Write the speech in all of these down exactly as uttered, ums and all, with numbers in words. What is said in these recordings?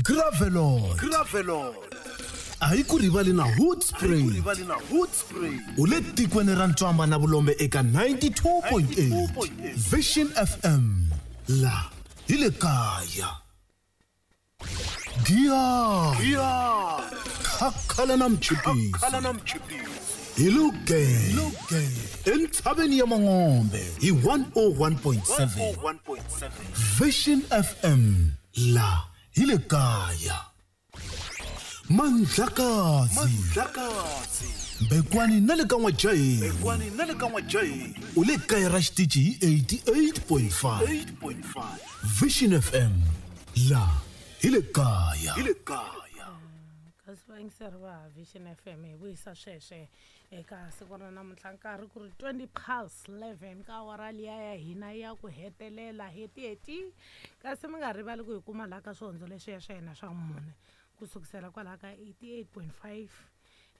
Gravelot Gravelot a hi ku rivali na Hoodspray rivali na Hoodspray u le tikweni ra Ntswamba na Vulombe eka ninety-two point eight Vision F M la hi le kaya. Giya Giya Khakhala na mchipisi Khakhala na mchipisi hi Luke entshaveni ya Mangombe hi one oh one point seven Vision F M la hi le kaya. Mandlakazi Mandlakazi Mbekwani na le ka N'wajahi Mbekwani na le ka N'wajahi u le kaya ra xitichi hi eighty-eight point five eight point five Vision F M la hi le kaya hi le kaya. Kasi vayingiseri va Vision F M hi vuyisa sweswe eka siku ra namuntlha nkarhi ku ri twenty past eleven ka awara liya ya hina ya ku hetelela heti-heti. Kasi mi nga rivali ku hi kuma laha ka swihondzo leswiya swa hina swa mune ku sukisela kwalaha ka eighty-eight point five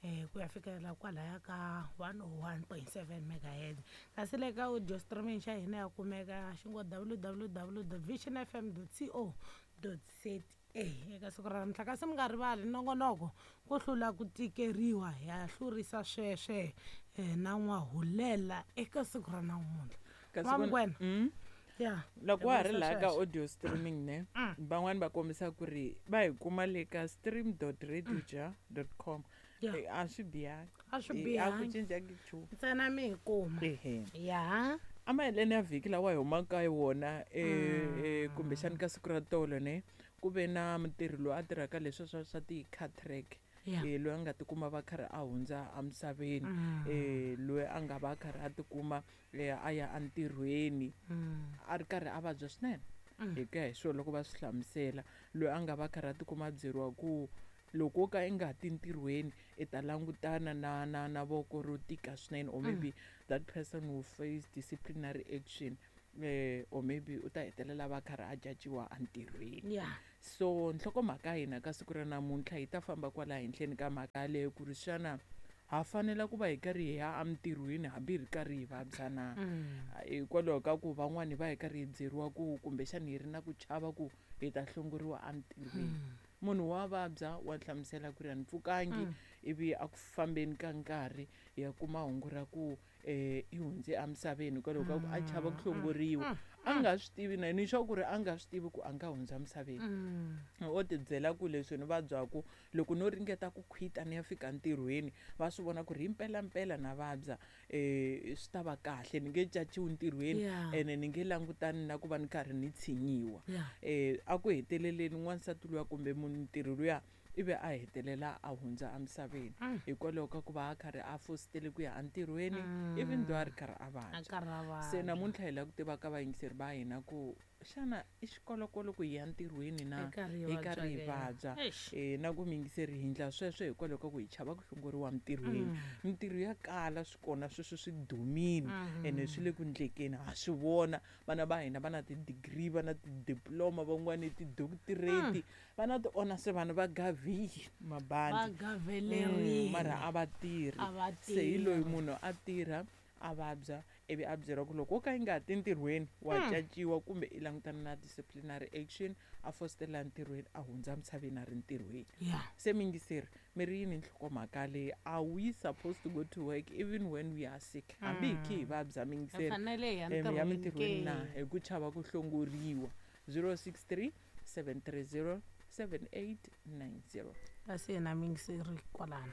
eh ku ya fikela kwalaya ka one oh one point seven megahertz. Kasi le ka audio streaming xa hina ya kumeka xi ngo w w w dot vision f m dot co dot z a eka siku ra namuntlha. Kasi mi nga rivali nongonoko ku hlula ku tikeriwa ya hlurisa sweswe eh, na N'wahulela eka siku ra namuntlha. Kasi N'wamngwena. Mm. Yeah. Loko wa ha ri laha ka Sweswe. audio streaming ne van'wani va kombisa ku ri va hi kuma le ka stream dot radioja dot com. Yeah. Eh, a swi bihangi. A swi Eh, a ku bihangi. cincangi nchumu. Ntsena mi hi kuma. Ehe. Yeah. A maheleni ya vhiki lawa hi humaka ka wona, eh, eh, kumbexani ka siku ra tolo ne ku ve na mutirhi loyi a tirhaka leswi swa swa ti-car track. Yeah. Eh, loyi a nga tikuma va karhi a hundza emisaveni. Mm. Eh, loyi a nga va karhi a tikuma, eh, a ya entirhweni. Mm. A ri karhi a vabya swinene. Mm. Hi ku ya hi swona loko va swi hlamusela, loyi a nga va karhi a tikuma a byeriwa ku loko wo ka i nga ti ntirhweni i ta langutana na, na, na voko ro tika swinene, or Mm. maybe that person will face disciplinary action, eh, or maybe u ta hetelela va karhi a caciwa entirhweni. Yeah. So nhlokomhaka ya hina ka siku ra namuntlha yi ta famba kwala henhleni ka mhaka yaleyo ku ri xana ha fanela ku va hi karhi hi ya entirhweni hambi hi ri karhi hi vabya na? Mm. Hikwalaho ka ku van'wani va hi karhi hi byeriwa ku kumbexani hi ri na ku chava ku hi ta hlongoriwa entirhweni. Mm. Munhu wa vabya wa hlamusela ku ri a ni pfukangi, Mm. ivi a ku fambeni ka nkarhi hi ya kuma hungu ra ku, eh, i hundze emisaveni hikwalaho ka ku a chava ku hlongoriwa. Mm. A nga swi tivi na ni sure ku ri a nga swi tivi ku a nga hundza emisaveni. Mm. O ti byela ku leswi ni vabyaku loko no ringeta ku khwita ni ya fika ntirhweni va swi vona ku ri himpelampela na vabya, eh, swi ta va kahle ni nge caciwi ntirhweni Yeah. ene ni nge langutani na ku va ni karhi ni tshinyiwa. Yeah. Eh, a ku heteleleni n'wansati luya kumbe muntirhi luya ivi a hetelela a hundza emisaveni Mm. hikwalaho ka ku va a karhi a fositele ku ya entirhweni Mm. even though a ri karhi a vabya. A karhi a vabya. Se namuntlha hi lava ku tiva ka vayingiseri va hina ku xana i xikolokolo ku hi ya entirhweni na Hi karhi hi hi karhi hi vabya ke? vabya? Eish. Eh, na ku miyingiseri hi endla sweswo hikwalaho ka ku hi chava ku hlongoriwa entirhweni. Mm. Mintirho ya kala swi kona sweswo swi dumile Mm-hmm. ene swi le ku ndlekeni, ha swi vona vana va hina va na ti-degree, va na ti-diploma, van'wani ti-doctorate, Mm. va na ti-honors, vanhu va gavile mabandi. Va gavelerile. Mm, mara a va tirhi. A va Se hi loyi tirhi. munhu a tirha a vabya ivi a byeriwa ku loko wo ka i nga ti ntirhweni wa Mm. caciwa kumbe i langutana na disciplinary action, a fositela ntirhweni a hundza emisaveni a ri ntirhweni. Yeah. Se miyingiseri mi ri yini nhlokomhaka leyi? Are we supposed to go to work even when we are sick? Hambi hi khe hi vabya miyingiseri, Hi fanele hi ya eh, mi ya ntirhweni mintirhweni ke? na hi ku chava ku hlongoriwa? zero six three seven three zero seven eight nine zero. Kasi yena miyingiseri kwalano.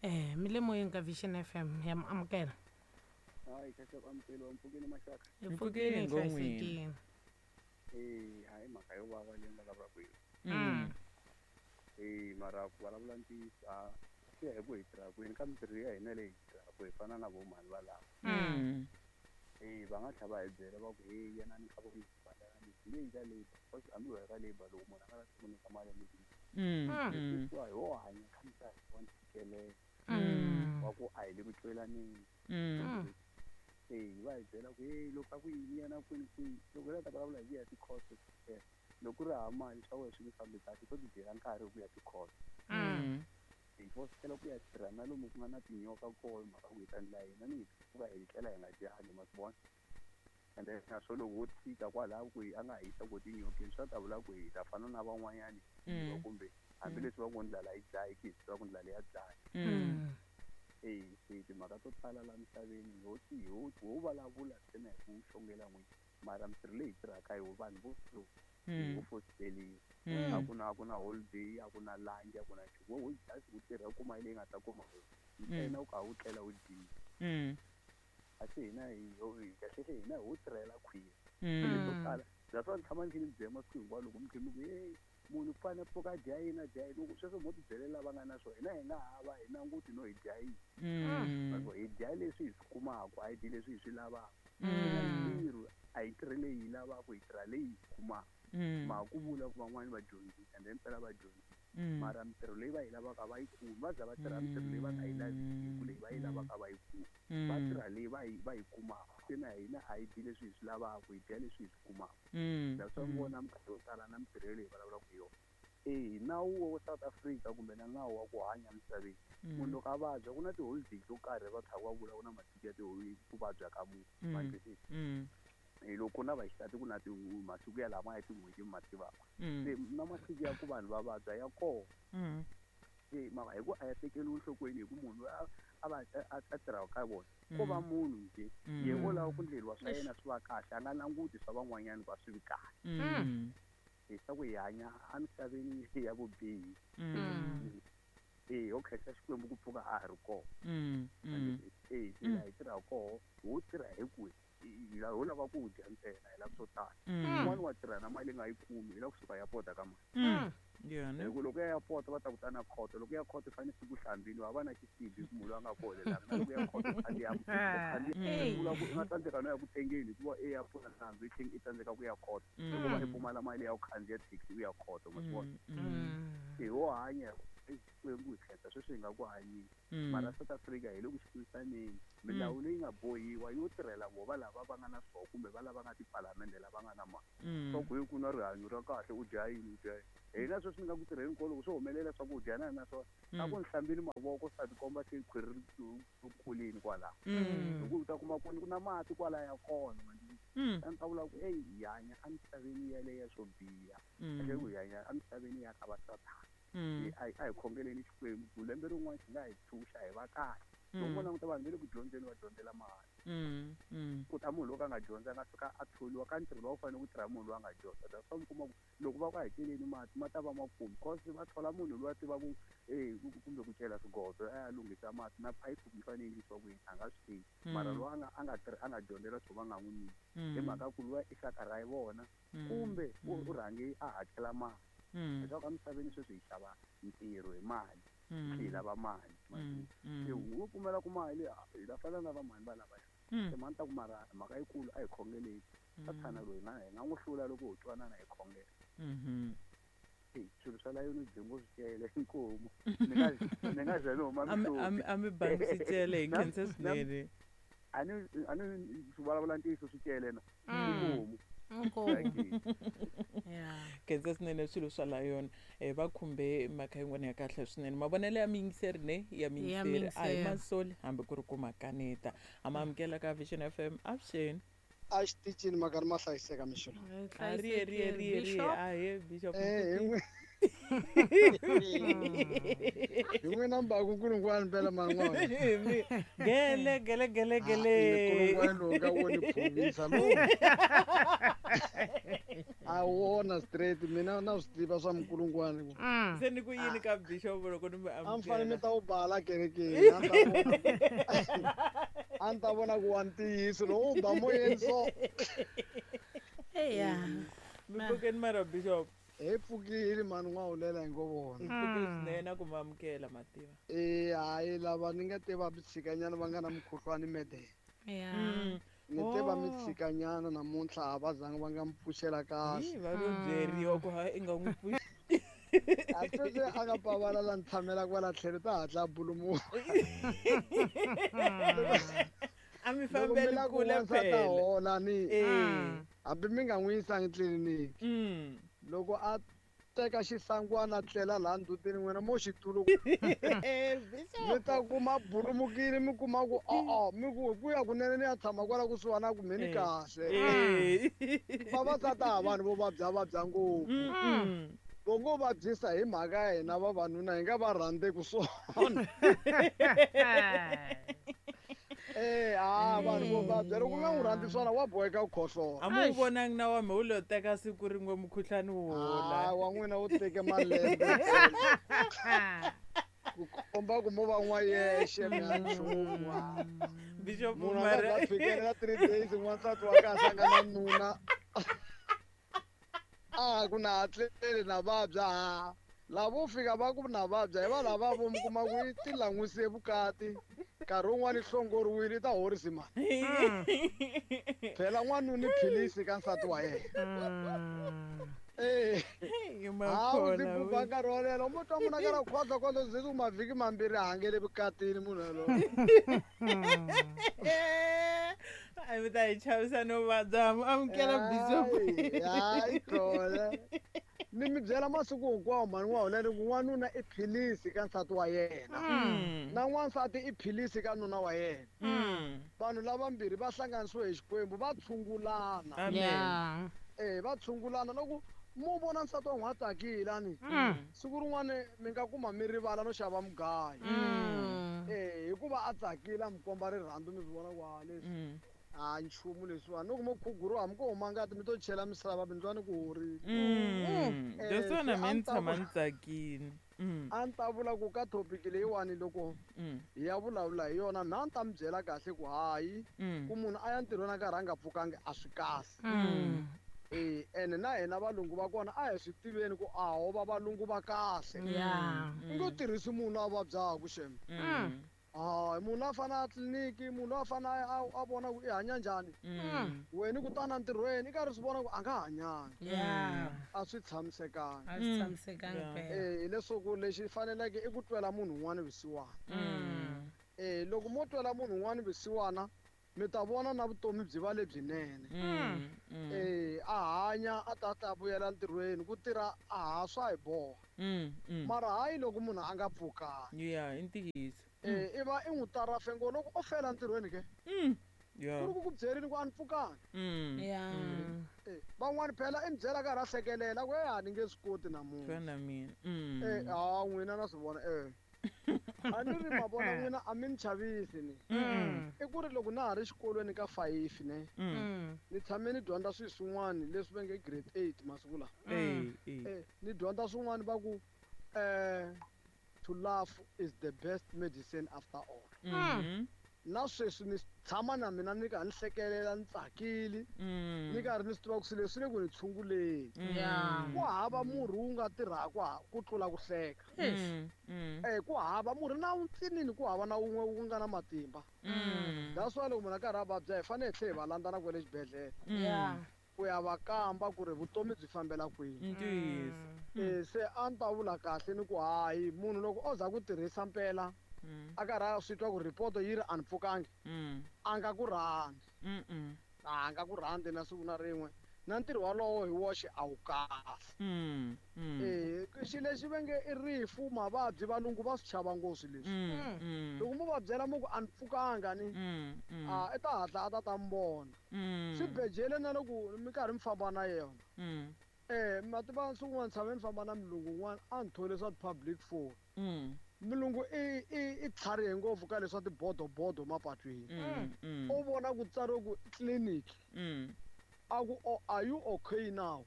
Eh, mi le moyeni ka Vision F M ya mi amukela. Hayi, kahle ku amukeriwa, mpfukeni maxaka. Hi Mpfukeni pfukile, hi ngopfu. hlayisekile. Eh, hayi mhaka yo vava leyi nga vulavulaka hi yona. Mm. Eh, mara ku vulavula ntiyiso, a swi ya hi ku hi tirha kwini, ka mintirho ya hina leyi hi tirhaka hi fana na vo mhani valava. Mm. Eh, va nga tlhela va hi byela va ku, hey, yanani ka vo laber, hi nge yi ka labour, because hambi ho ya ka labour loko munhu a nga lavi ku nyika mali ya mudende. Mm, Mm. mm. Hikuva hi wo hanya kha misava wa ntshikelelo. Mm. Wa ku a hi le ku twelaneni. Mm. Mm. Eh, va hi byela ku, hey, loko a ku yini yana kwini kwihi, loko hi la ta vulavula hi ku ya ti-court, eh, loko ku ri hava mali swa wena swi nge fambi kahle, to ti dyela nkarhi hi ku ya ti-court. Mm. Hi fositela ku ya tirha na lomu ku nga na tinyoka kona, mhaka ku hi ta endla yini, ni hi pfuka hi tlela hi nga dyangi, ma swi vona? And then naswo loko wo tshika kwalaho ku a nga hisa ku tinyokeni swa ta vula ku hi ta fana na van'wanyani kumbe hambileswi va ku ndlala yi dlayi ki hi ku ndlala ya dlaya. Eh se timhaka to tala la misaveni ho ti ho ho vulavula ntsena hi ku xongela n'wini mara mintirho leyi tirhaka hi vanhu vo ho fositeliwa a ku na a ku na holiday a ku na lunch a ku na nchumu wo just ku tirha u kuma leyi nga ta kuma ntsena u ka u tlela u dyile. A se hina hi kahlekahle hina ho tirhela khwiri to tala that's why ni tshama ni kha ni byela masiku hinkwawo loko mi kha mi ku hey munhu fanele pfuka dya yini a dya yini loko sweswo mo tibyelela lava nga na swona hina hi nga hava hi languti no hi dya yini hi dya leswi hi swi kumaka a hi dyi leswi hi swi lavaka ntirho a hi tirhi leyi hi lavaka hi tirha leyi hi kumaka ma ku vula ku van'wani va dyondzisa and then mpela va dyondzisa mara mintirho leyi va yi lavaka va yi kumi va za va tirha mintirho leyi va nga yi laviki leyi va yi lavaka va yi kumi va tirha leyi va yi va yi kumaka se na hina a hi dyi leswi hi swi lavaka hi dya leswi hi swi kumaka that's why vona minkarhi yo tala na mintirho leyi vulavulaka hi yona eh nawu wa South Africa kumbe na nawu wa ku hanya misaveni munhu loko a vabya ku na ti-holiday to karhi va tlhaka va vula ku na masiku ya ti-holiday ku vabya ka munhu ma twisisa eh loko na vaxisati ku na masiku ya lama ya tin'hweti mi ma tivaka se na masiku ya ku vanhu va vabya ya kona se mara hi ku a ya tekeriwi enhlokweni hi ku munhu a va a tirhaka ka vona ko va munhu nje ye wo lava ku ndleriwa swa yena swi va kahle a nga languti swa van'wanyana ku a swi vi kahle hi swa ku hi hanya emisaveni ya vubihi eh ho khensa Xikwembu ku pfuka a ha ri kona eh se laha hi tirhaka koho ho tirha hi ku hi ho lava ku dya ntsena hi lava swo tala un'wana wa tirha na mali nga yi kumi hi lava kusuka ya pota ka mali hi ku loko ya ya pota va ta ku ta na khoto loko ya khoto fanele siku hlambini wa va na xisibi ku munhu loyi a nga koholelanga na loko ya khoto khandziya khandziya vula ku i nga tsandzeka no ya ku tengeni hikuva e ya pfuna nandzu i tlhela i tsandzeka ku ya khoto hikuva i pfumala mali ya ku khandziya taxi u ya khoto ma swi vona hi ho hanya Xikwembu hi khensa sweswi hi nga ku hanyeni mara South Africa hi le ku xiphisaneni milawu leyi nga bohiwa yo tirhela vo va lava va nga na swoho kumbe va lava nga tipalamende lava nga na mali swa ku hi ku na rihanyo ra kahle u dya yini u dya yini hina sweswi ni nga ku tirheni ko loko swi humelela swa ku dya na na swona a ku ni hlambini mavoko swi ta tikomba se khwiri ri kulini kwalaho hi ku u ta kuma ku ku na mati kwalaya kona a ni ta vula ku eyi hi hanya emisaveni yaleyo ya swo biha kahle ku hi hanya emisaveni ya ka va sathana a hi khongeleni Xikwembu ku lembe rin'wana xi nga hi tshunxa hi va kahle loko mo languta vanhu va le ku dyondzeni va dyondzela mahala ku ta munhu loko a nga dyondza a nga fika a tholiwa ka ntirho lowu fanele ku tirha munhu loyi a nga dyondza that's why mi kuma ku loko va ku a hakeleni mati ma ta va ma kumi cause va thola munhu loyi a tivaku e kumbe ku cela swigodo a ya lunghisa mati na phayiphi yi fanele yi endlisiwa ku yini a nga swi tivi mara loyi a nga a nga tirhi a nga dyondzela swo va nga n'wi nyiki hi mhaka ku luya i xaka ra vona kumbe u rhange a hakela mali leswaku emisaveni sweswi hi xava ntirho hi mali hi lava mali se wo pfumela ku mali hi la fana na vamhani va lavaya se mani ta ku mara mhaka yikulu a hi khongeleni sathana loyi hi nga hi nga n'wi hlula loko ho twanana hi khongela swilo swa layoni byi ngo swi cele inkomu ni nga ni nga ze ni huma mihloti a mi bangi swi cele hi khensa swinene a ni a ni swi vulavula ntiyiso swi cele na inkomu khensa swinene swilo swa layona um va khumbe mhaka yin'wana ya kahle swinene mavonelo ya miyingiseri ne ya miyingiseri a hi masoli hambi ku ri ku makaneta a ma amukela ka Vision F M avuxeni a xitichini makari ma hlayiseka mixo a riye riye riye riye ahe bishop eh hi n'wina mbaku nkulungwana mpela man'wana gele gele gele gele nkulungwana lowu ka wo ni phumisa lowu a wona straight mina na swi tiva swa minkulungwana se ni ku yini ka bishop loko ni mi a mi fanele mi ta wu bala kerekeni a ni ta vona ku wa ntiyiso lowu ba moyeni so eya mi pfukeni mara bishop hi pfukile mani n'wahulela hi ngo vona hi pfukile swinene ku mi amukela mativa e hayi lava ni nga te va tshikanyana va nga na mukhuhlwani mede ya ni te va mi tshikanyana namuntlha a va zangi va nga mi pfuxela kahle va lo byeriwa ku hayi i nga n'wi pfuxi a sweswi a nga pavala la ni tshamelaka va la tlhelo ta hatla a bulumuka a mi fambeli kule phela hola ni hambi mi nga n'wi yisangi tliliniki loko a teka xisangwana tlela laha ndzhutini n'wina mo xitulu mi ta kuma burumukile mi kuma ku o-o mi ku ku ya kunene ni ya tshama kwala kusuhana ku mheni kahle vavasati a vanhu vo vabya vabya ngopfu vo ngo vabyisa hi mhaka ya hina vavanuna hi nga va rhandzeki swona eh ah vanhu vo vabya loko u nga n'wi rhandzi swona wa boheka ku khohlola a mu vonangi na wa me wu lo teka siku rin'we mukhuhlwani wu hola ah wa n'wina wu teke malembe ku komba ku mo va n'wa yexe mi a nchumu bishop munhu a nga za fikelela three days n'wansati wa kahle a nga na nuna a ku na hatleli na vabya ha lavo fika va ku na vabya hi va lava vo mi kuma ku i ti lan'wise vukati nkarhi wun'wani hlongoriwile i ta horisi mani phela n'wanuna i philisi ka nsati wa yena eh ha u ndzi buba nkarhi wo leha mo twa munhu a karhi a khwaza khwaza ze ku mavhiki mambirhi a hangele vukatini munhu yaloye a mi ta hi chavisa no vabya amukela bishop hayi kona ni mi byela masiku hinkwawo mhani wa hona ku n'wanuna i philisi ka nsati wa yena na n'wansati i philisi ka nuna wa yena vanhu lavambirhi va hlanganisiwe hi Xikwembu va tshungulana eh va tshungulana loko mo vona nsati wa n'wana a tsakile ani siku rin'wana mi nga kuma mi rivala no xava mugayo eh hikuva a tsakile a mi komba rirhandzu mi swi vona ku ha leswi a nchumu leswiwani loko mo khuguriwa hambi ko huma ngati mi to chela misava mi twa ni ku horile leswiwani me ni tshama ni tsakile a ni ta vula ku ka topic leyiwani loko hi ya vulavula hi yona mina a ni ta mi byela kahle ku hayi ku munhu a ya ntirhweni a karhi a nga pfukangi a swi kahle eh ene na hina valungu va kona a hi swi tiveni ku a ho va valungu va kahle u ngo tirhisi munhu a vabyaku xem hayi munhu a fane a tliliniki munhu a fane a vona ku i hanya njhani wena ku tana ntirhweni i karhi swi vona ku a nga hanyanga a swi tshamisekanga a swi tshamisekanga phela eh hileswaku lexi faneleke i ku twela munhu un'wana vusiwana eh loko mo twela munhu un'wana vusiwana mi ta vona na vutomi byi va lebyinene eh a hanya a ta ta vuyela ntirhweni ku tirha a ha swa hi boha mara hayi loko munhu a nga pfukanga ya i ntiyiso eh i va i n'wi tarafe ngo loko o fela ntirhweni ke ya ku ri ku ku byerini ku a ni pfukanga ya eh van'wani phela i mi byela karhi a hlekelela ku e a ni nge swi koti namuntlha fana mina eh ha n'wina na swi vona eh a ni ri ma vona n'wina a mi ni chavisi ni i ku ri loko na ha ri xikolweni ka five ne ni tshame ni dyondza swilo swin'wana leswi va nge grade eight masiku lawa eh eh eh ni dyondza swin'wana va ku eh to laugh is the best medicine after all na sweswi ni tshama na mina ni karhi ni hlekelela ni tsakile ni karhi ni swi tiva ku swilo leswi le ku ni tshunguleni ku hava murhi wu nga tirhaka ku tlula ku hleka eh ku hava murhi na wuntsinini ku hava na wun'we wu nga na matimba that's why loko munhu a karhi a vabya hi fanele hi tlhela hi va landza na kwale xibedhlele ku ya va kamba ku ri vutomi byi fambela kwini ntiyiso eh se a ni ta vula kahle ni ku hayi munhu loko o za ku tirhisa mpela a karhi a swi twa ku ripoto yi ri a ni pfukangi a nga ku rhandzi a nga ku rhandzi na siku na rin'we na ntirho walowo hi woxe a wu kahle eh xilo lexi va nge i rifu mavabyi valungu va swi chava ngopfu leswi loko mo va byela mo ku a ni pfukanga ni a i ta hatla a ta ta mi vona swibedhlele na loko mi karhi mi famba na yona eh ma tiva siku un'wana tshame ni famba na mulungu un'wana a ni thole swa ti-public phone mulungu i i i tlharihe ngopfu ka leswa tibodobodo mapatwini u vona ku tsariwe ku clinic a ku oh, are you okay now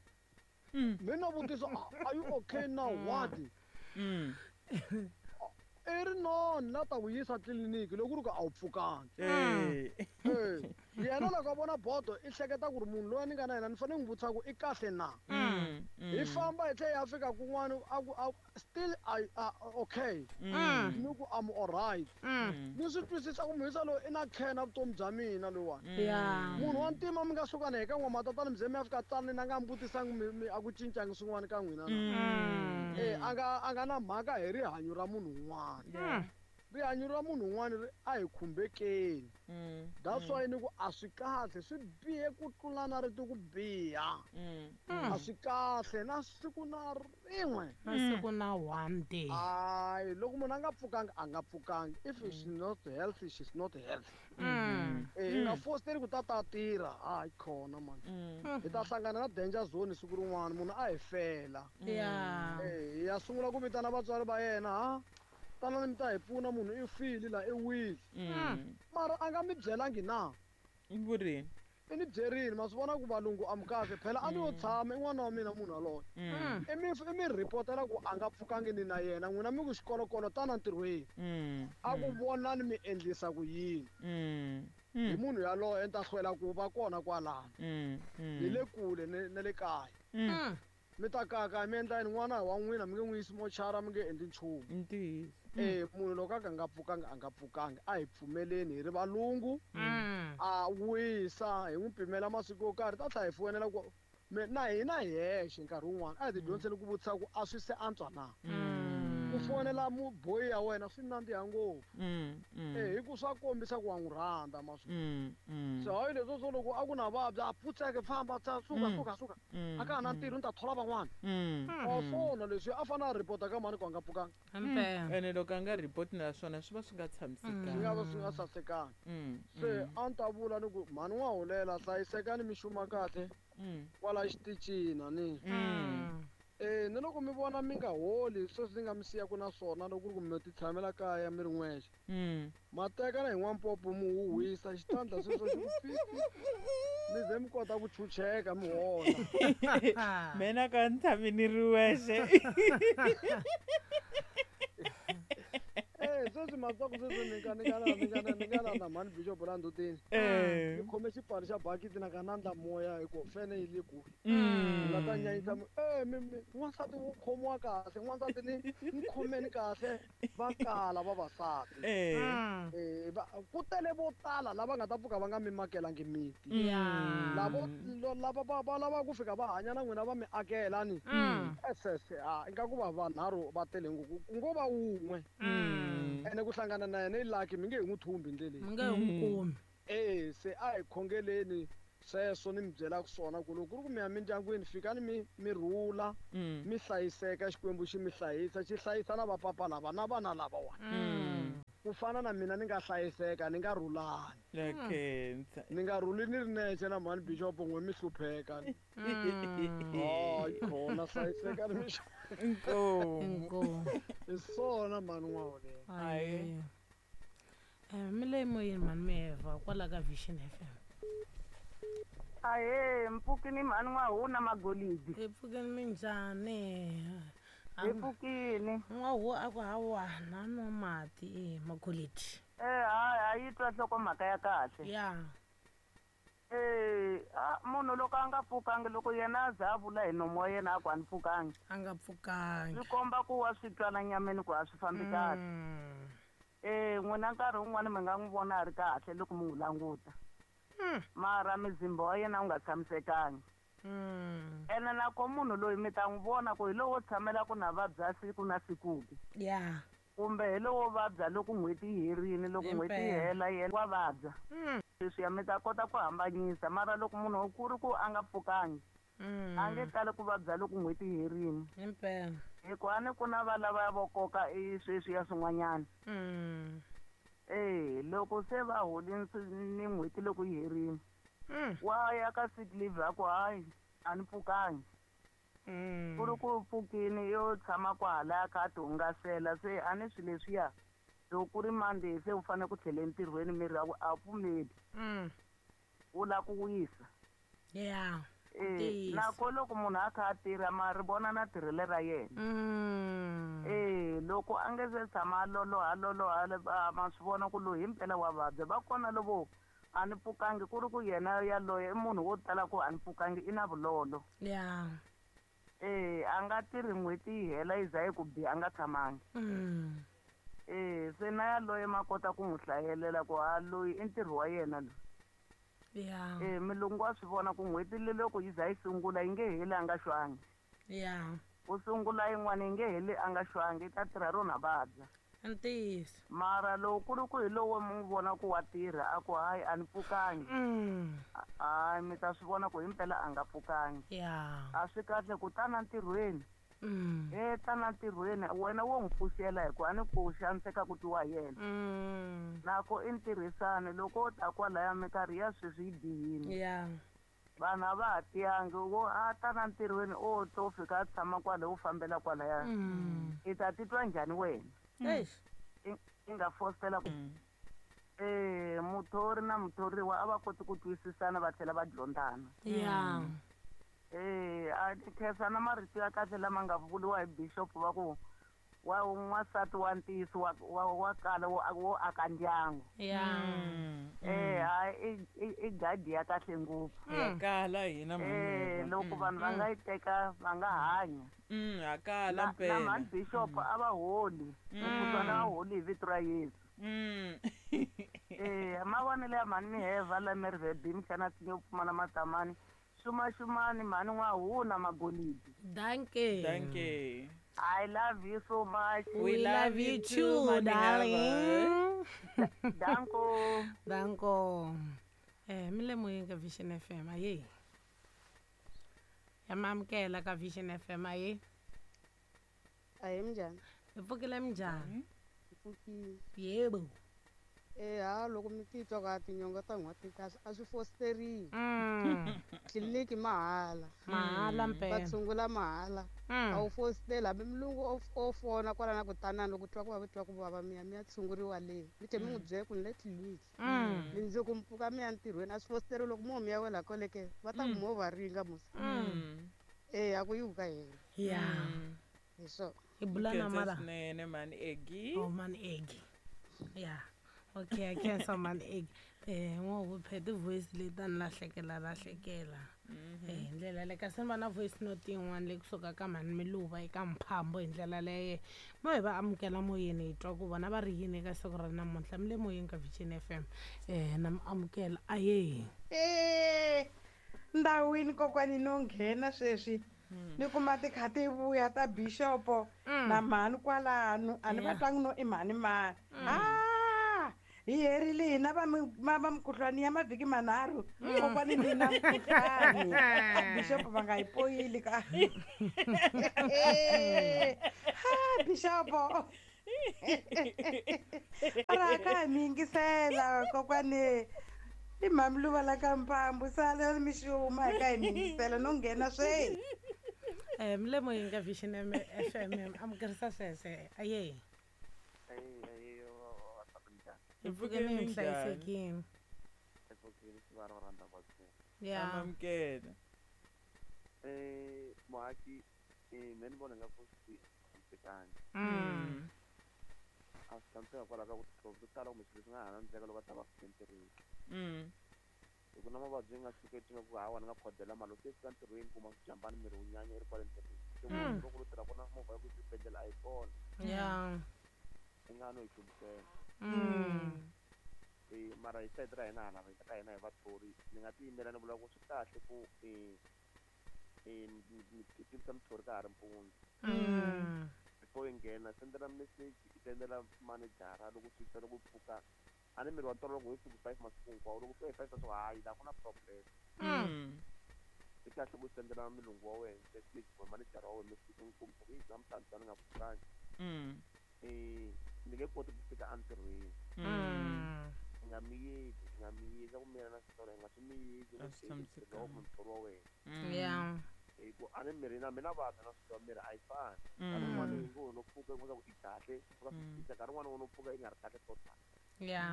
mina vutisa are you okay now what i ri no ni la ta ku yisa tliliniki loko ku ri ku a wu pfukanga yena loko a vona bodo i hleketa ku ri munhu loyi ni nga na yena ni fanele ni n'wi vutisa ku i kahle na hi famba hi tlhela hi ya fika kun'wana a ku a still I uh, okay ni ku I'm alright ni swi twisisa ku muyisa loyi i na care na vutomi bya mina loyiwani munhu wa ntima mi nga suka na hi ka n'wamatatana mi ze mi ya fika tsanini a nga mi vutisangi a ku cincangi swin'wana ka n'wina na eh a nga a nga na mhaka hi rihanyo ra munhu un'wana Rihanyo ra munhu un'wana ri a hi khumbekeni. That's why ni ku a swi kahle swi bihe ku tlula na rito ku biha. A swi kahle na siku na rin'we. Na siku na one day. Hayi loko munhu a nga pfukanga a nga pfukangi. If she's not healthy, she's not healthy. Eh hi nga fositeli ku ta ta tirha. Hayi khona man. Hi ta hlangana na danger zone siku rin'wana munhu a hi fela. Yeah. Eh ya sungula ku vitana vatswari va yena ha. Tana mi ta hi pfuna munhu i file la i wile. Mara a nga mi byelangi na? I vurini? I ni byerini ma swi vona ku valungu a mi kahle phela a ni yo tshama i n'wana wa mina munhu yaloye. I mi i mi ripotela ku a nga pfukangi ni na yena n'wina mi ku xikolokolo tana ntirhweni. A ku vonani mi endlisa ku yini. Hi munhu yaloye ni ta hlwela ku va kona kwalano. Ni le kule na le kaya. Mi ta kaka mi endla yini n'wana wa n'wina mi nge n'wi yisi mochara mi nge endli nchumu. Ntiyiso. Eh munhu loko a ka nga pfukanga a nga pfukangi a hi pfumeleni hi ri valungu. A wisa hi n'wi pimela masiku yo karhi ta tlhela hi foyinela ku na hina hi hexe nkarhi wun'wana a hi ti dyondziseni ku vutisa ku a swi se antswa na. Ku fonela muboyi ya wena swi nandziha ngopfu. Eh hi ku swa kombisa ku wa n'wi rhandza ma swi. So hayi leswo swo loko a ku na vabya a pfutseke famba tsa suka suka suka. A ka ha na ntirho ni ta thola van'wana. A swona leswi a fanele a ripota ka mhani ku a nga pfukanga. Ene loko a nga ripoti na swona swi va swi nga tshamisekanga. Swi nga va swi nga sasekanga. Se a ni ta vula ni ku mhani wa holela hlayisekani mi xuma kahle kwala xitichini ni. Eh ni loko mi vona mi nga holi sweswi ni nga mi siyaka na swona loko ku ri ku mi ti tshamela kaya mi ri n'wexe. Ma teka na hi n'wampopo mi huhwisa xitandla sweswo xi ku pi mi ze mi kota ku chucheka mi hola. Mina ka ni tshami ni ri wexe. Eh sweswi matsaku sweswi ni nga ni nga ni nga ni nga na mhani Bishop la ndzhutini. Ni khome xipfalo xa bakiti na ka nandla moya hi ku fene yi le kule. Ni nga ta nyanyisa eh mi n'wansati wo khomiwa kahle n'wansati ni ni khomeni kahle va kala vavasati. Eh ku tele vo tala lava nga ta pfuka va nga mi makelangi miti. Lavo lava va lava ku fika va hanya na n'wina va mi akela ni. Esese a ingaku va vanharhu va tele ngopfu ku ngo va wun'we. Ene ku hlangana na yena i lucky mi nge hi n'wi thumbi ndleleni. Mi nge hi n'wi kumi. Eh se a hi khongeleni sweswo ni mi byelaka swona ku loko ku ri ku mi ya mindyangwini fikani mi mi rhula mi hlayiseka Xikwembu xi mi hlayisa xi hlayisa na vapapa lava na vana lavawani. Ku fana na mina ni nga hlayiseka ni nga rhulani. Ni nga rhuli ni ri nexe na mhani Bishop n'we mi hlupheka. Hayi khona hlayisekani mi Inkomu. Inkomu. Hi swona mhani n'waholela. Hayi. Eh mi le moyeni mhani Miheva kwala ka Vision F M. Ahe mpfukini mhani n'wahuna magolidi. Hi pfukini minjhani? Hi pfukini. N'wahu a ku hawa na nwa mati e magolidi. Eh hayi a yi twa nhlokomhaka ya kahle. Ya. Eh a munhu loko a nga pfukangi loko yena a za a vula hi nomu wa yena a ku a ni pfukangi. A nga pfukangi. Swi komba ku wa swi twa na nyameni ku a swi fambi kahle. Eh n'wina nkarhi wun'wani mi nga n'wi vona a ri kahle loko mi n'wi languta. Mara muzimba wa yena wu nga tshamisekangi. Ene nako munhu loyi mi ta n'wi vona ku hi lowo tshamela ku na vabya siku na siku ke. Ya. Kumbe hi lowo vabya loko n'hweti yi herile loko n'hweti yi hela yena wa vabya. Leswiya mi ta kota ku hambanyisa mara loko munhu ku ri ku a nga pfukangi a nge tali ku vabya loko n'hweti yi herile. Impela. Hikuva a ni ku na va lava vo koka i sweswiya swin'wanyana. Eh loko se va holini ni n'hweti loko yi herile wa ya ka sick leave a ku hayi a ni pfukangi. Ku ri ku pfukini yo tshama kwahalaya kha a ti hungasela se a ni swilo leswiya loko ku ri Monday se u fanele ku tlhela entirhweni miri wa ku a wu pfumeli. Wu lava ku wisa. Ya. Eh nako loko munhu a kha a tirha ma ri vona na tirhelo ra yena. Eh loko a nge se tshama a loloha loloha ma swi vona ku loyi himpela wa vabya va kona lovo a ni pfukangi ku ri ku yena yaloye i munhu wo tala ku a ni pfukangi i na vulolo. Ya. Eh a nga tirhi n'hweti yi hela yi za yi ku biha a nga tshamangi. Eh se na yaloye ma kota ku n'wi hlayelela ku ha loyi i ntirho wa yena loyi. Ya. Eh mulungu wa swi vona ku n'hweti le loko yi za yi sungula yi nge heli a nga xwangi. Ya. Ku sungula yin'wana yi nge heli a nga xwangi yi ta tirha rona vabya. Ntiyiso. Mara loko ku ri ku hi lowo mi n'wi vona ku wa tirha a ku hayi a ni pfukangi. Mm. Hayi mi ta swi vona ku himpela a nga pfukangi. Ya. A swi kahle ku tana ntirhweni. Mm. E tana ntirhweni wena wo n'wi pfuxela hi ku a ni ku xaniseka ku twiwa hi yena. Mm. Nako i ntirhisano loko o ta kwalaya minkarhi ya sweswi yi bihile. Ya. Vanhu a va ha tiyangi wo a tana ntirhweni o to fika a tshama kwale u fambela kwalaya. Mm. I ta titwa njhani wena? Eish. I i nga fositela ku eh muthori na muthoriwa a va koti ku twisisana va tlhela va dyondzana. Ya. Eh a ni khensa na marito ya kahle lama nga vuriwa hi bishop va ku wa n'wansati wa ntiyiso wa wa wa kala wo wo aka ndyangu. Ya. Eh hayi i i gadi ya kahle ngopfu. Ya kala hina Eh mhani. loko vanhu va nga yi teka va nga hanya. Mm, ya kala Na na mpela. mhani bishop a va holi. Mukhuhlwana va holi hi vito ra Yesu. Mm. Eh mavonelo ya mhani Miheva la Mervebe mxana tinyo pfumala matamani. Xuma xumani mhani n'wahuna magolidi. Dankie. Dankie. I love you so much. We love you too, Mhani darling. Danko. Danko. Eh mi le moyeng ka Vision F M aye. Ya mamkela ka Vision F M aye. Aye minjhani? Hi pfukile minjhani? Pfukile. Yebo. Eh ha loko mi titwa ka tinyonga ta n'hweti ti kahle a swi fositeriwi. Mm. Tliliniki mahala. Mahala Va mpela. tshungula mahala. A wu fositeli hambi mulungu o o fona kwala na ku tanani loko twa ku vava twa ku vava mi ya mi ya tshunguriwa le. Mi tlhe mi n'wi byela ku ni le tliliniki. Mm. Mundzuku mi pfuka mi ya ntirhweni a swi fositeriwi loko mo mi ya wela kwale ke va ta ku mo va ringa musi. Mm. Eh a ku yiwi ka hina. Ya. Hi swona. Hi bula na Khensa mala. swinene mhani Eggie. Oh man egg. Ya. Okay, I khensa man egg. Eh ngo phe ti voice leti ta ni lahlekela lahlekela. Eh hi ndlela le kasi ni va na voice note yin'wana leyi kusuka ka mhani Miluva eka Mphambo hi ndlela leyo mo hi va amukela moyeni hi twa ku vona va ri yini eka siku ra namuntlha mi le moyeni ka Vision F M eh na mi amukela aye. Eh, ndhawini kokwani no nghena sweswi ni kuma ti kha ti vuya ta bishopo na mhani kwalano a ni va Yeah. twangi no i mhani mani. Ah, hi herile hina va mi va va mukhuhlwani ya mavhiki manharhu kokwani ni na mukhuhlwani a bishopo va nga yi poyili ka. Ha bishopo ra ka mi yingisela kokwani i mhamiluva la ka Mpambu sala mi xuma hi ka hi mi yingisela no nghena sweswi. Eh mi le moyeni ka Vision F M amukerisa sweswe aye. Eh eh vavasati minjhani? Hi Hi pfukile pfukile hi minjhani? hlayisekile. Hi pfukile siva ra rhandza va Ya. Amamkela. Eh muhaki eh me ni vona nga ku swi tshamisekangi. Mm. A swi tshamiseka kwalaho ka ku titlhovo to tala kumbe swilo leswi nga ha endleka loko va ta va fika entirhweni. Mm. Hi ku na mavabyi ya nga tshuketi nga ku hawa ni nga khodela mali loko se fika entirhweni kuma swijambani miri wu nyanya i ri kwale ntirhweni. Se Mm. loko u tirha kona movha ya ku xibedhlele a yi kona. Ya. I nga no yi hluvisela. Mm. Eh mara hi sayiti ra hina hala ka hina hi vathori ni nga tiyimela ni vula ku swi kahle ku eh eh ni tivisa muthori ka ha ri mpundzu. Mm. Before i nghena sendela message i sendela manejara loko swi fika loko u pfuka a ni miri wa tolo loko hi fiki five masiku hinkwawo loko fika hi five swa hayi la ku na problem. Mm. Swi kahle ku sendela mulungu wa wena message kumbe manejara wa wena message u n'wi kombisa ku yi namuntlha ni nga pfukangi. Mm. Eh ni nge koti ku fika entirhweni. Mm. I nga miyeli i nga miyeli ku miyela na switori i nga swi miyeli A swi tshamisekanga. kumbe muthori wa wena. Ya. Hi ku a ni miri na mina vabya na swi tiva miri a yi fani. Nkarhi Mm. wun'wani u ngo no pfuka u ku i kahle pfuka swi Mm. cinca nkarhi wun'wani u no pfuka i nga ri kahle total. Ya.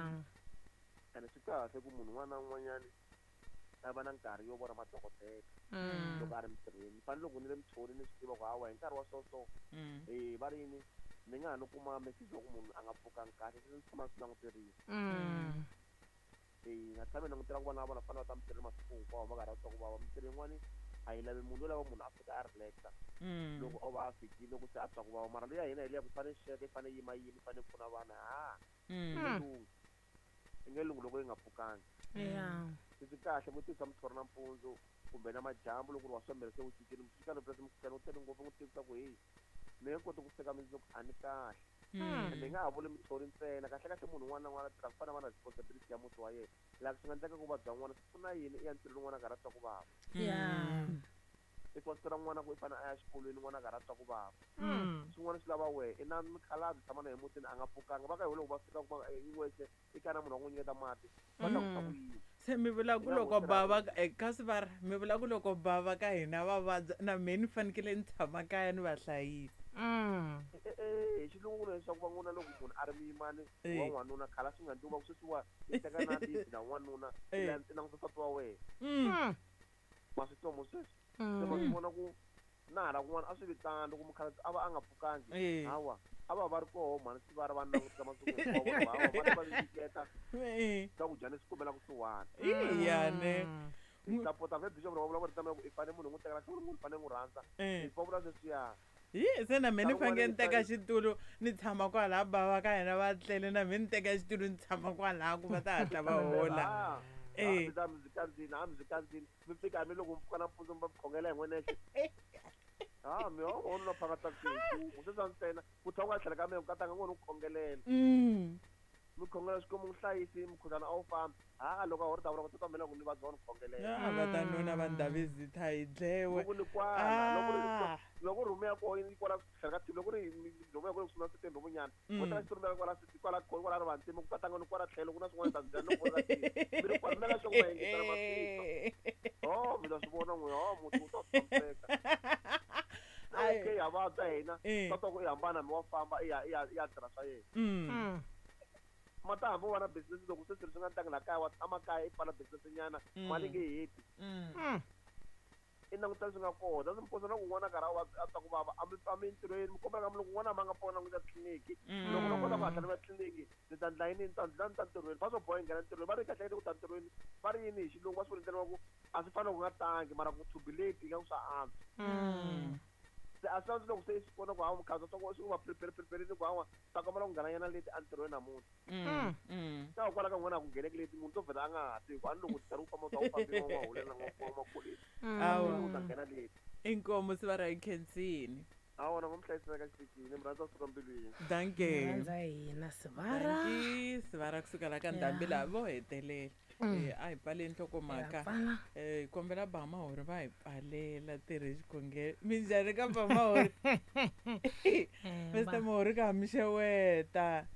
Ene swi kahle ku munhu un'wana na un'wanyani a va na nkarhi yo vona madokodela Mm. loko a ri mintirhweni. Ni fanele loko ni ri muthori ni swi tiva ku hawa hi nkarhi wa so so Mm. eh va ri yini ni nga ha no kuma message wa ku munhu a nga pfukangi kahle se ni tshama ni swi languterile. Mm. Eh nga tshami ni langutela ku vona vona fanele va ta mintirhweni masiku hinkwawo va karhi va twa ku vava. Mintirho yin'wani a yi lavi munhu yo lava munhu a fika a relax-a Mm. loko o va a fikile loko se a twa ku vava mara leya hina hi leya ku fanele sweka i fanele yima yima i fanele pfuna vana ha Mm. i nge lunghi i nge lunghi loko yi nga pfukangi. Ya. Se swi kahle ku tivisa muthori nampundzu kumbe na madyambu loko ri wa swa miri se wu cincile swi kahle purasi mukhuhlwani wu tele ngopfu n'wi tivisa ku heyi ni nge koti ku fika mundzuku a ni kahle. Ende nga ha vuli muthori ntsena kahle kahle munhu un'wana na un'wana a tirha ku fana va na responsibility ya muti wa yena laha swi nga endleka ku vabya n'wana swi pfuna yini i ya ntirhweni n'wana a karhi a twa ku vava i fositela n'wana ku i fanele a ya xikolweni n'wana a karhi a twa ku vava swin'wana swi lava wehe i na mikhalabye tshama na ye mutini a nga pfukanga va ka hi loko va fika kuma i wexe i ka na munhu wa n'wi nyiketa mati va ta ku ku yini se mi vula ku loko bava kasi va ri mi vula ku loko bava ka hina va vabya na mehe ni fanekele ni tshama kaya ni va hlayisa hi xilungu leswaku va n'wana loko munhu a ri muyimani wa n'wanuna khala swi nga ndzi va ku sweswiwa i teka na bibi na n'wanuna i languta nsati wa wena ma swi twa mo sweswi se va swi vona ku na hala kun'wana a swi vitana loko mukhalabye a va a nga pfukangi hawa a va va ri koho mhani swi va ri va languta masiku hinkwawo hawa va va nyiketa swakudya leswi kumela kusuhani iyane sapota ve bishop va vula ku ri tama ku i fanele munhu n'wi tekela xo munhu fanele n'wi rhandza va vula sweswiya hi se na mehe ni fanekele ni teka xitulu ni tshama kwalaha bava ka hina va tlele na mehe ni teka xitulu ni tshama kwalaha ku va ta hatla va hola eh mi ta mi kandzini a mi kandzini mi fika mi loko mi pfuka nampundzu mi va khongela hi n'wenexe ah mi ho ho no phaka taxi u se ntsena ku tlha u nga tlhela ka mehe katanga n'wana u khongelela mi khongela xikwembu n'wi hlayisi mukhuhlwana a wu fambi ha loko a ho ri ta vula ku tata mina ku ni vabya wa ni khongelela a va ta nuna va ndhavezitha hi dlewe loko ni kwala loko ri loko rhume ya koho yi kwala tlhela ka loko ri rhume ya kona ku sungula setembe vunyana vo tala xi rhumela kwala kwala kwala ri vantima ku katanga ni kwala tlhelo ku na swin'wana ta byela loko ri mi ri kwala mela xo ku yingisela masiku oh mi ta swi vona n'we oh muti wu ta tshamiseka okay ya vabya hina tata ku i hambana mi wa famba i ya i ya i ya tirha swa yena mata hambi u va na business loko se swilo swi nga ntangi la kaya wa tshama kaya i pfala business nyana mali nge heti i languta leswi nga kona that's mposa na ku n'wana karhi a twa ku vava a mi a mi entirhweni mi kombela ka mi loko n'wana ma nga pfuna languta tliliniki loko no kota ku hatla ni va tliliniki ni ta ndla yini ni ta ndla ni ta ntirhweni va swo boha yi nghena ntirhweni va ri kahle ku ta ntirhweni va ri yini hi xilungu va swi vula ndlela wa ku a swi fanele ku nga tangi mara ku to be late ingaku swa antswa se a swi loko se swi vona ku hawa mukhalabye swa swi va prepare prepare ku hawa ta kombela ku nghena nyana leti entirhweni namuntlha ta kwala ka n'wana a ku ngheneki leti munhu to vhela a nga ha tivi ku a ni loko nkarhi wu famba u ta wu fambile wa hulela wa awa u ta nghena leti inkomo si va ra hi khensini awa na n'wi hlayisela ka xitichini mi rhandza kusuka mbilwini danke rhandza hina sivara danki sivara kusuka la ka ndhambi laha vo hetelela eh a hi pfaleni nhlokomhaka eh hi kombela Bamahori va hi pfalela tirhe xikhongelo minjhani ka Bamahori Mister Mahori ka mi xeweta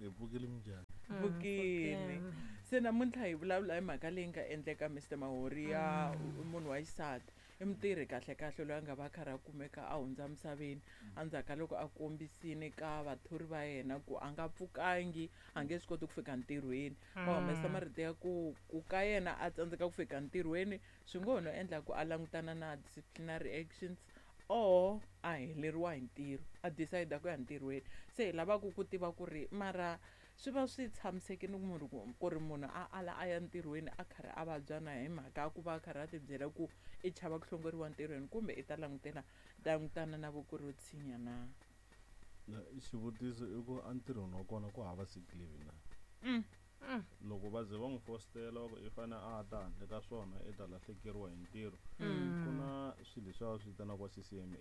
hi pfukile minjhani pfukile se namuntlha hi vulavula hi mhaka leyi nga endleka Mister Mahori ya munhu wa xisati i mutirhi kahle kahle loyi a nga va karhi a kumeka a hundza misaveni endzhaku ka loko a kombisile ka vathori va yena ku a nga pfukangi a nge swi koti ku fika ntirhweni va humesa marito ya ku ku ka yena a tsandzeka ku fika ntirhweni swi ngo ho no endla ku a langutana na disciplinary actions or a heleriwa hi ntirho a decide ku ya ntirhweni se hi lavaku ku tiva ku ri mara swi va swi tshamisekile munhu ku ri munhu a ala a ya ntirhweni a karhi a vabya na hi mhaka ya ku va a karhi a tibyela ku i chava ku hlongoriwa ntirhweni kumbe i ta langutela langutana na voko ro tshinya na xivutiso i ku entirhweni wa kona ku hava sick leave na loko va ze va n'wi fostela va ku i fanele a ta handle ka swona i ta lahlekeriwa hi ntirho ku na swilo leswi va swi vitanaka C C M A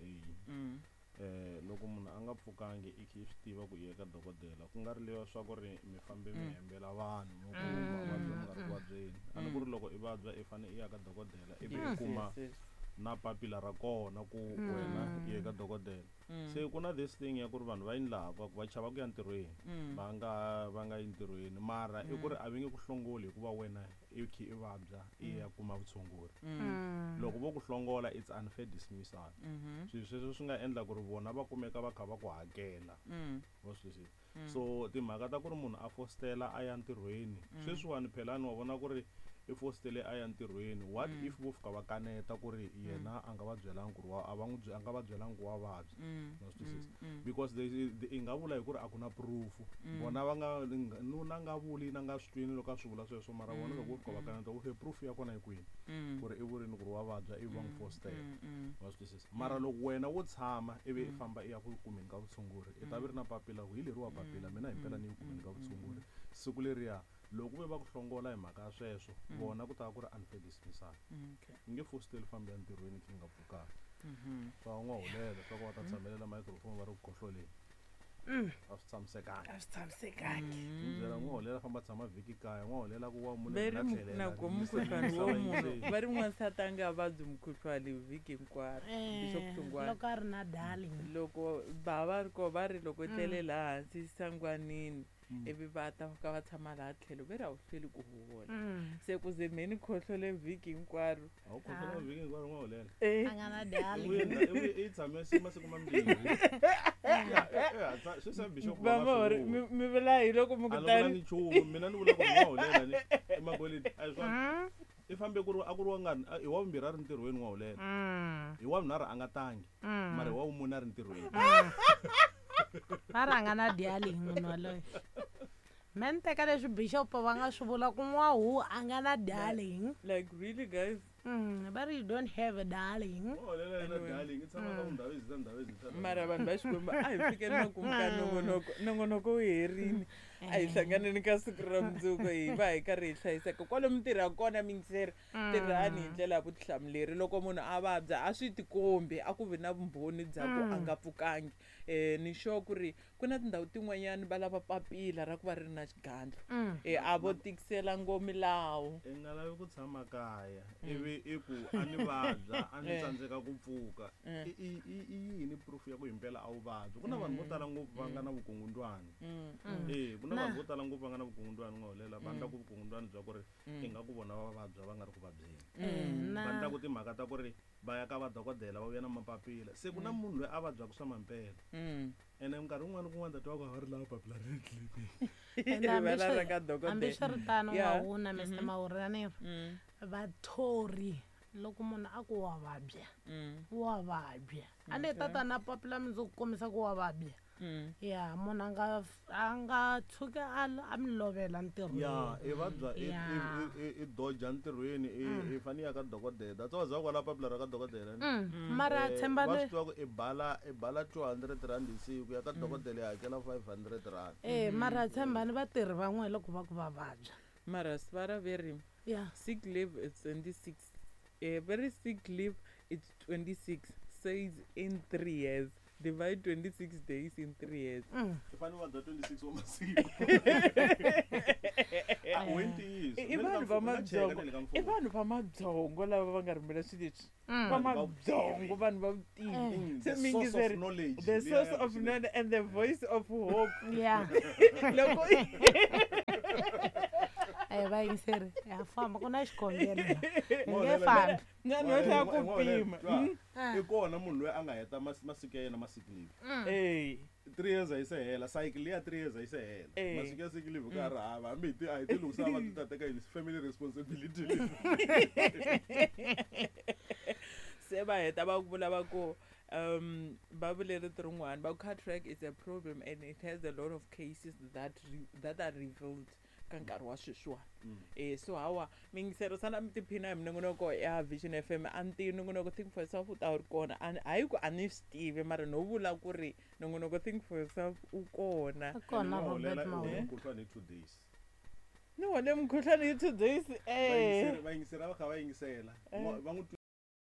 eh loko munhu a nga pfukangi i kha i swi tiva ku i ya ka dokodela ku nga ri leyo swa ku ri mi fambe mi hembela vanhu mi ku mavabyi mi nga ri ku vabyeni a ni ku ri loko i vabya i fanele i ya ka dokodela ivi i kuma na papila ra kona ku wena i ye ka dokodela se ku na this thing ya ku ri vanhu va yini laha ku va chava ku ya ntirhweni va nga va nga yi ntirhweni mara i ku ri a va nge ku hlongoli hikuva wena i kha i vabya i ya kuma vutshunguri loko vo ku hlongola it's unfair dismissal swilo sweswo swi nga endla ku ri vona va kumeka va kha va ku hakela wa swi twisisa so timhaka ta ku ri munhu a fostela a ya ntirhweni sweswiwani phela ni wa vona ku ri i fostele a ya ntirhweni what if vo fika va kaneta ku ri yena a nga va byelangi ku ri a va n'wi a nga va byelangi ku wa vabya wa swi twisisa because i nga vula hi ku ri a ku na proof vona va nga nuna nga vuli na nga swi twini loko a swi vula sweswo mara vona loko vo fika va kaneta okay proof ya kona yi kwini ku ri i vurini ku ri wa vabya ivi va n'wi fostela wa swi twisisa mara loko wena wo tshama ivi i famba i ya ku kumeni ka vutshunguri i ta vi ri na papila ku hi leriwa papila mina himpela ni yi kumeni ka vutshunguri siku leriya loko ve va ku hlongola hi mhaka ya sweswo vona ku ta va ku ri unfair dismissal i nge fosteli fambi ya ntirhweni khe nga pfukanga swa n'wa hulela swa ku va ta tshamelela microphone va ri ku khohloleni A swi tshamisekanga. A swi tshamisekangi. Byela n'wa holela famba tshama vhiki kaya, n'wa holela ku wa munhu na tlhela. Na ku mukhuhlwani wa munhu. Va ri n'wansati a nga vabyi mukhuhlwani vhiki hinkwaro. Bishop Hlungwani. Loko a ri na darling. Loko ba va ri ko va ri loko tlele laha hansi sangwanini. Ivi va ta ka va tshama laha tlhelo ve ri a wu hlweli ku hola. Se ku ze mheni khohlole vhiki hinkwaro. A wu khohlola vhiki hinkwaro n'wa holela. A nga na darling. I tshame masiku mambirhi. Ya, sweswi Bishop va nga mi vula hi loko mi ku tani. A ni nchumu, mina ni vula ku n'wa holela ni emagoleni. A hi swona. I fambe ku ri a ku ri wa ngani i wa vumbirhi a ri ntirhweni n'wa holela. Hi wa vunharhu a nga tangi. Mara hi wa vumune a ri ntirhweni. Va rhanga na darling munhu waloye. Me ni teka leswi Bishop va nga swi vula ku n'wahu a nga na darling. Like really guys? Mm, but you don't have a darling. Mara vanhu va Xikwembu a hi fikeni makumu ka nongonoko, nongonoko wu herini. A hi hlanganeni ka siku ra mundzuku hi va hi karhi hi hlayiseka. Kwalomu tirha kona mingiseri, tirhani hi ndlela ya vutihlamuleri. Loko munhu a vabya a swi tikombi, a ku vi na vumbhoni bya ku a nga pfukangi. Eh ni sure ku ri ku na tindhawu tin'wanyani va lava papila ra ku va ri na xigandlo. Eh a vo tikisela ngo milawu. I nga lavi ku tshama kaya ivi i ku a ni vabya a ni tsandzeka ku pfuka. I i yini proof ya ku himpela a wu vabyi? Ku na vanhu vo tala ngopfu va nga na vukungundwani. Eh ku na vanhu vo tala ngopfu va nga na vukungundwani n'wa holela va endla ku vukungundwani bya ku ri ingaku vona va vabya va nga ri ku vabyeni. Va endla ku timhaka ta ku ri va ya ka vadokodela va vuya na mapapila. Se ku na munhu loyi a vabyaka swa mampela. Ene minkarhi wun'wana kun'wana ta twa ku va ri lava papila ra le tliliniki. Hambiswiritano n'wahuna Mister Mawuraneri, vathori loko munhu a ku wa vabya, wa vabya. A ni tata na papila mundzuku kombisa ku wa vabya. Ya munhu a nga a nga tshuki a a mi lovela ntirhweni. Ya i vabya i i doja ntirhweni i fanele ya ka dokodela. That's why za kwala papila ra ka dokodela. Mara tshemba le. Va swi tiva ku i bala i bala two hundred rand hi siku ya ka dokodela ya hakela five hundred rand. Eh mara tshembani vatirhi van'we loko va ku va vabya. Mara svara veri. Yeah. Sick leave is twenty-six. Eh very sick leave it's twenty-six says in three years. Divide twenty-six days in three years. I fanele va dya twenty-six wa masiku. A twenty I vanhu va mabyongo. I vanhu va mabyongo lava va nga rhumela swilo leswi. Va mabyongo vanhu va vutivi. The source of knowledge. The source of knowledge and the voice of hope. Yeah. Loko Eh va yingiseri ya famba ku na xikhongelo. Nge fambi. Na no hla ku pima. I kona munhu loyi a nga heta masiku ya yena ma sick leave. Eh three years a yi se hela, cycle ya three years a yi se hela. Masiku ya sick leave ka ri hava hambi hi ti a hi ti lunghisa va ti ta teka yini family responsibility leave. Se va heta va ku vula va ku um va vule rito rin'wana va ku cataract is a problem and it has a lot of cases that re, that are revealed ka nkarhi wa sweswiwani. Eh so hawa mingisero sana mi tiphina hi minongonoko ya Vision F M a ni tivi nongonoko Think for Yourself u ta wu ri kona. Hayi ku a ni swi tivi mara no vula ku ri nongonoko Think for Yourself u kona. Kona Robert Mawulela. Mukhuhlwani hi two days. Ni hole mukhuhlwani hi two days eh. Va yingisela va kha va yingisela. Va n'wi